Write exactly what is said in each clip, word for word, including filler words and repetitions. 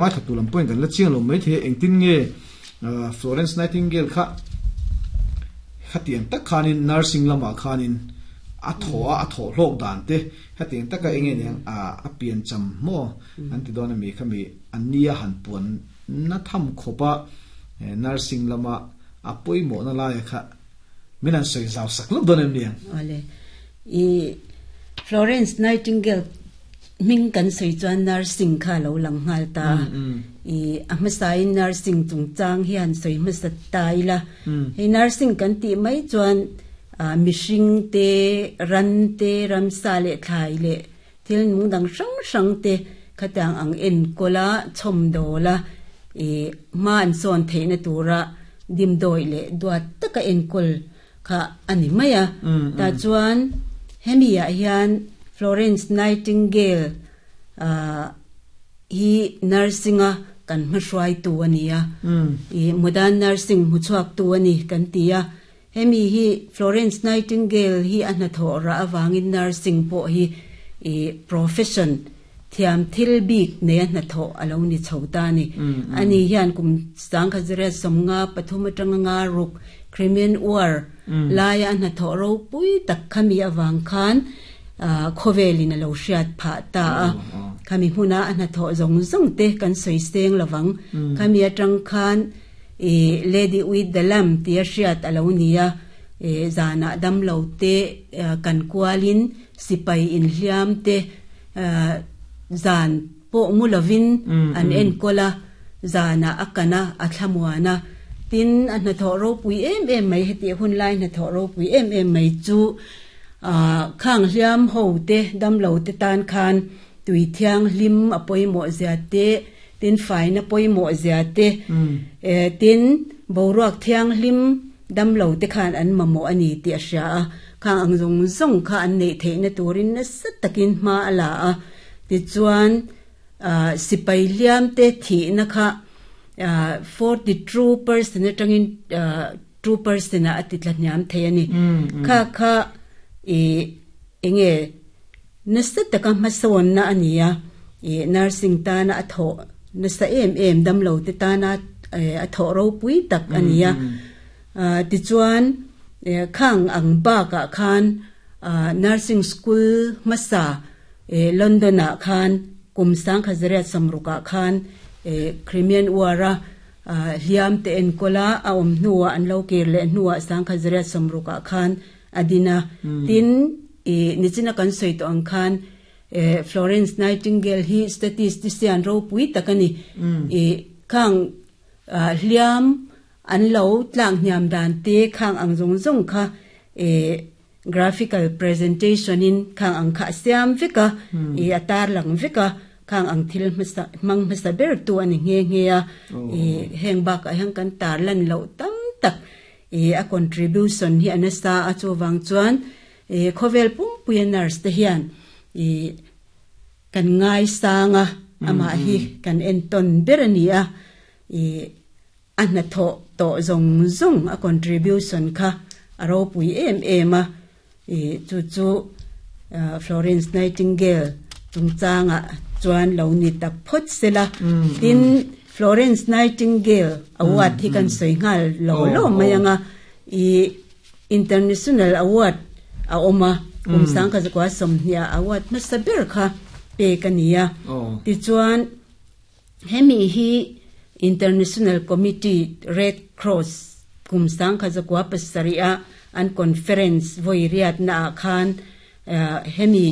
Ngaithla lam pawhin kan la chiang lo maithei a, engtin nge Florence Nightingale kha khatiang tak khanin nursing lamah khanin a thawh a, a thawh hlawk dan te hetiang taka eng nge niang a piancham maw an ti dawn a mi khami a nia han puan na tham khawp a nursing lama a pawimawhna laia kha min han sawi zau sak lawk dawn em niang? Awle, i Florence Nightingale hming kan sawi chuan nursing kha lo lang nghal ta. I a hmasain nursing chungchang hian sawi hmasa ta ila. Hei nursing kan tih mai chuan mihring te, ran te, ramsa leh thlai leh thil nung dang hrang hrang te khatiang ang enkawl a, chhawmdawl a, i hma an sawn theihna tura dimdawi leh duat taka enkawl kha a ni mai a. Tah chuan hemi ah hian Florence Nightingale hi nursing a kan hmahruaitu a ni a, i modern nursing hmuchhuaktu a ni kan ti a. Hemi hi Florence Nightingale hi a hnathawh rah avangin nursing pawh hi i profession thiam thil bik nei a hnathawh a lo ni chho ta a ni. Ani hian kum sangkhat zariat sawmnga pathum atanga nga ruk Crimean War laia a hnathawh ropui tak khami avang khan khawvelin a lo hriat phah ta a. Khami hmuna a hnathawh zawng zawng te kan sawi seng lovang. Khami atang khan i Lady with the Lamp tia hriat a lo ni a. Zanah damlo te kan kualin sipai inhliam te zan pawh mu lovin an enkawl a, zanah a kan a, a thlamuan a. Tin, a hnathawh ropui em em mai, heti hun lai hnathawh ropui em em mai chu khang hliam ho te, damlo te tan khan tui thianghlim a pawimawh zia te, tin faina pawimawh zia te, tin boruak thianghlim damlo te khan an mamawh a ni tih a hria a. Khang ang zawng zawng kha an neih theihna turin nasa takin hma a la a. Tichuan sipai hliam te thihna kha forty two percent atangin two percent ah a ti tla hniam thei a ni. Kha kha i enge nasa taka hmasawnna a ni a, i nursing tana a thawh nasa em em damlo te tana a thawh ropui tak a ni a. Tichuan khang ang bakah khan nursing school hmasa London ah khan kum sangkhat zariat sawmrukah khan Crimean War a hliam te enkawl a, a awm hnuah an lo kir leh hnuah sangkhat zariat sawmrukah khan a din a. Tin, i nichina kan sawi tawh ang khan Florence Nightingale hi statistician ropui tak a ni. I khang hliam an lo tlak hniam dan te khang ang zawng zawng kha graphical presentation in khang ang kha a siam vek a, i a tar lang vek a, khang ang thil hmasa hmang hmasa ber tu a ni nghe nghe a. I heng bakah hian kan tar lan loh tam tak i a contribution hi a nasa a, chuvang chuan i khawvel pumpuia nurse te hian i kan ngai sang a, amah hi kan entawn ber a ni a. I a hnathawh tawh zawng zawng a contribution kha a ropui em em a. I chu chu Florence Nightingale chungchangah chuan lo ni tak phawt sela. Tin, Florence Nightingale award hi kan sawi nghal lo lo mai anga. I International award a awm a, kum sangkhat zakua sawmhnih ah award hmasa ber kha pek a ni a. Tichuan hemi hi International Committee Red Cross kum sangkhat zakua pasarih a an conference vawi riatna ah khan hemi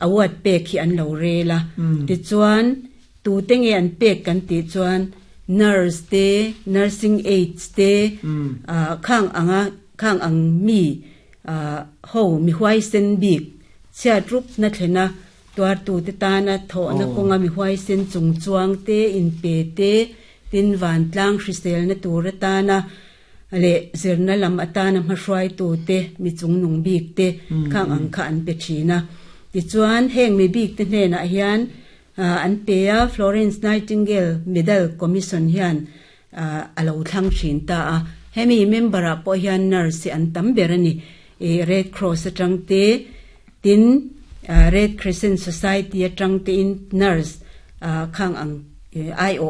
award pek hi an lo rel a. Tichuan tute nge an pek kan tih chuan nurse te, nursing aides te, khang anga khang ang mi ho mi huaisen bik chhiat rup na thlena tuartute tana thawhna kawnga mi huaisen chung chuang te, inpe te, tin vantlang hriselna tur atana leh zirna lam atana hmahruaitute mi chungnung bik te khang ang kha an pe thin a. Tichuan heng mi bik te hnenah hian an pe a, Florence Nightingale Medal Commission hian a lo thlang thin ta a. Hemi member ah pawh hian nurse hi an tam ber a ni. Red Cross atang te, tin Red Crescent Society atang tein nurse khang ang ai awh